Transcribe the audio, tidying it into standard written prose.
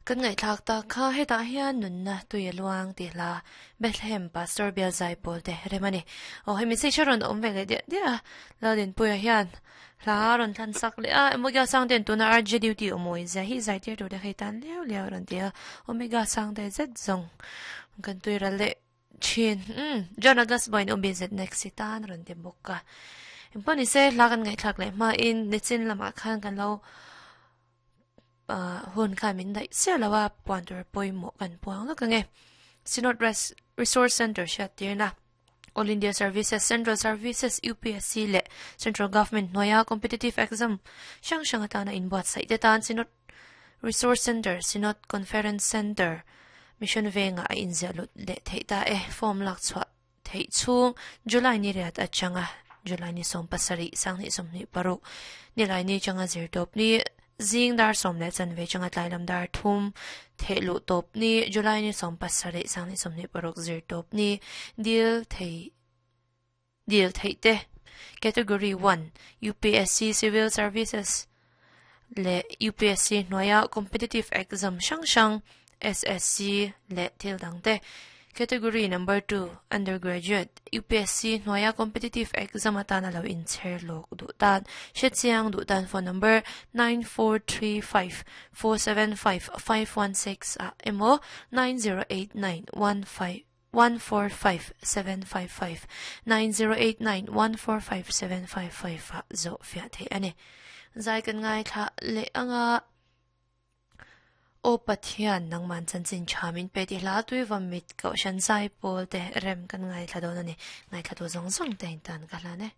Kan ngaihthlak tak kha hetah hian nunna tui a luang tih hla Bethlehem Pastor Bial Zaipawl te rem a ni. Aw hemi se hre rawn awm ve leh diah diah a, Laldinpuia hian hla a rawn thlan sak leh a, Omega Sangte'n tuna RJ duty awm awi zia hi zaitir tur te kha i tan liau liau a rawn ti a, Omega Sangte zet zawng kan tui ral leh thin. Umm John August Boy-in UBZ next i tan a rawn ti bawk a. Engpawh ni se hla kan ngaihthlak leh hmain nichin lamah khan kan lo hun khan min daih chiah lo a, puan tur pawimawh kan puang lawk ang e. Synod Resource Centre hriattirna, All India Services, Central Services, UPSC leh Central Government hnuaia competitive exam hrang hrang atana inbuatsaih te tan Synod Resource Centre, Synod Conference Centre, Mission Vengah a inziah lut leh theih ta e. Form lak chhuah theih chhung July ni riat atanga July ni 17 2026 nilai ni changa zir tawp ni zing dar 10 leh chanve changa tlai lam dar 3 theh luh tawp ni July ni 17 2026 zir tawp ni dil thei dil theih te Category 1 UPSC Civil Services leh UPSC hnuaia competitive exam hrang hrang SSC leh thil dang te Category Number 2 Undergraduate UPSC hnuaia competitive exam atana lo inchher lawk duh tan hrechiang duh tan phone number 9435 475 516 ah emaw 9089 15 145 755 9089 145 755 ah zawh fiah theih a ni. Zai kan ngaithla leh anga Aw Pathian nangman chanchin tha min pe tih hla tui va mit kohhran zai pawl te rem kan ngaithla dawn a ni. Ngaithla tu zawng zawng te in tan ka hlan e.